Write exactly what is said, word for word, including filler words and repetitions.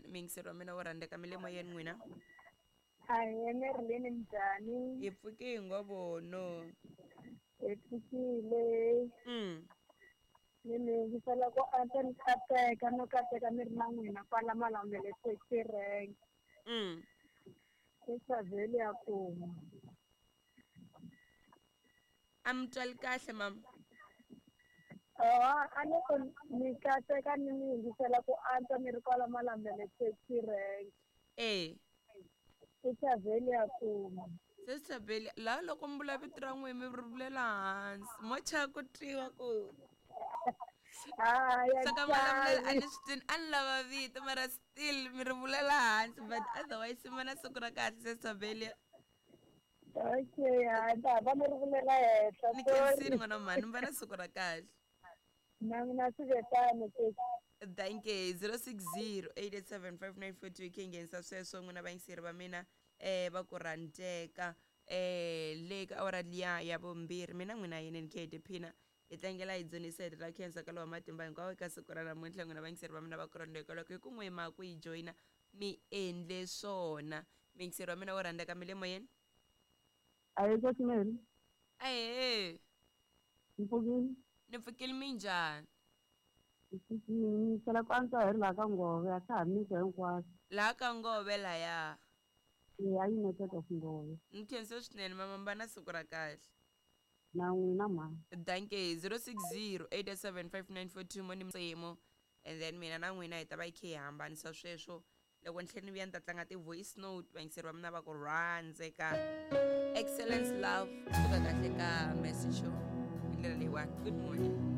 leyiwani. Miyingiseri wa mina wo rhandzeka, mi le moyeni n'wina? Ahee, Marilyn, njhani? Hi pfuke hi ngo vono. Hi pfukile. Mm. Ni mi yingisela ku antswa, ni kateka no kateka ni ri na n'wina kwala Malamulele taxi rank. Mm. I Chaveli ya kuma. A mi twali kahle mama? Oh, a ni ku ni kateka ni mi yingisela ku antswa ni ri kwala Malamulele taxi rank. Eh. I Chaveli ya kuma. Se Chaveli, laha loko mi vula vito ra n'wina mi ri vulela hansi, mo chava ku twiwa ku Hayi, a swa ka Malamulele a chavi. Ni swi twini, a ni lava vito mara still mi ri vulela hansi, but otherwise mi va na siku ra kahle se Chaveli. Okay, hayi, ta va ni ri vulela henhla. Ni khensile. Sorry. N'wana wa mhani, mi va na siku ra kahle. Na mina swi ve tano sesi. Thank you. zero six zero, eight eight seven, five nine four two khe nghenisa sweswo n'wina vayingiseri va mina eh va ku rhandzeka eh le ka awara liya ya vumbirhi. Mina n'wina yini ni khe hi tiphina, hi tlangela, hi dzunisa, hi ra khensa ka lowa matimba hinkwawo eka siku ra namuntlha. N'wina vayingiseri va mina va ku rhandzeka, loko hi ku n'we ma ku yi joyina, mi endle swona. Muyingiseri wa mina wo rhandzeka, mi le moyeni? Ahee, sesi Mary. Ahee. Ni pfukile. Ni pfukile, minjhani? Ni sala ku antswa, hi ri laha ka Ngove, a swa ha misa hinkwaswo. Laha ka Ngove laya? Ya, United of Ngove. Ni khensa swinene mama, mi va na siku ra kahle. Na n'wina mhani. Danke. zero six zero, eight seven, five nine four two mo ni msemo, and then mina na n'wina hi ta va hi khe hi hambanisa sweswo. Loko ni tlhela ni vuya ni ta tlanga ti-voice note, vayingiseri va mina va ku rhandzeka. Excellence Love, suka kahle ka message show hi ndlela leyiwani. Good morning.